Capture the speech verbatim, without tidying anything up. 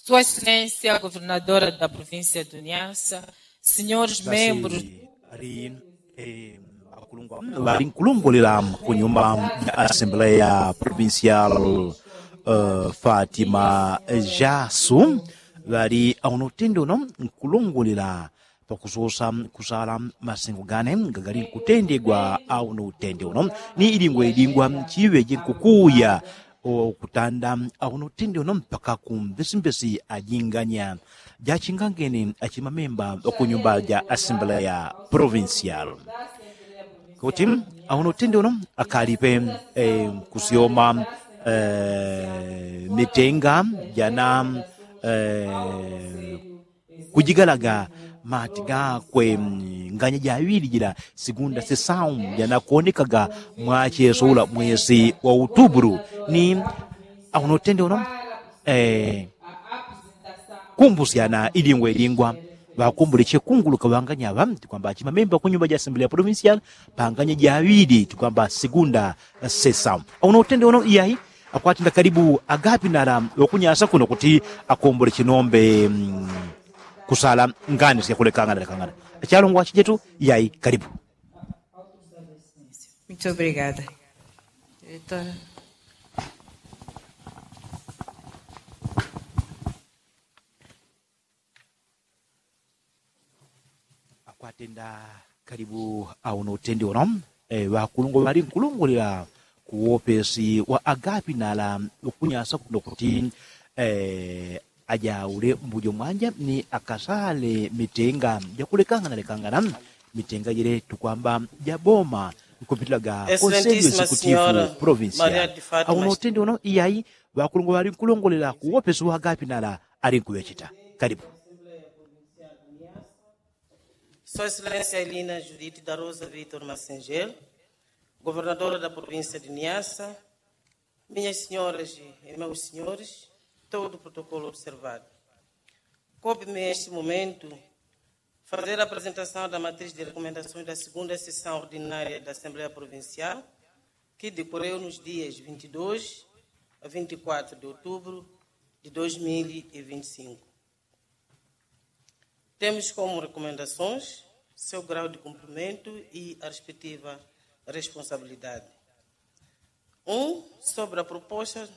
Sua excelência governadora da província do Niassa, senhores membros. Ŵali nkulongolela kunyumba ya asembleya provincial, fatima jasu ŵali aunotende uno nkulongolela pakusosa kusala masengo gane gagali nkutendegwa aunotende uno ni idingwa idingwa chiŵeje nkukuya okutanda aunotende uno mpaka kumbesimbesi ajinganya jachingangeni achimamemba okunyumba ja asembleya provincial kuti aunotende uno akalipe kusyoma mitenga jana kujigalaga mati gakwe nganya jaŵili jila sigunda sisau janakuonekaga mwacheso ula mwesi wa utubulu ni aunotende uno kumbusyana idingwa idingwa ŵakumbuleche kunguluka ŵanganya ŵa tikwamba achimamemba kunyumba ja asembleya provincial panganya jaŵili tikwamba sigunda sisau aunotende uno iyayi akwatenda kalibu agapi nala ŵakunyasa kuno kuti akombole chinombe kusala ngani syakulekangana lekangana achalongwa achijetu yayi kalibu. Akwatenda kalibu auno utendi uno ŵakulungwa ŵali nkulungulila kuwopesi wa agapi nala ukunyasa kuno kuti ajaule mbujo mwanja ni akasale mitenga jakulekangana lekangana mitenga jele tukwamba jaboma nkupitilaga konsejo sikutifu provinsia auno utendi uno iyai ŵakulungwa ŵali nkulungulila kuwopesi wa agapi nala ali nkuŵecheta kalibu. Sua excelência elina judite da rosa vitor massengel, governadora da província de niassa, minhas senhoras e meus senhores, todo o protocolo observado. Coube-me este momento fazer a apresentação da matriz de recomendações da segunda sessão ordinária da assembleia provincial, que decorreu nos dias vinte e dois a vinte e quatro de outubro de dois mil e vinte e cinco. Temos como recomendações seu grau de cumprimento e a respectiva responsabilidade. Um sobre a proposta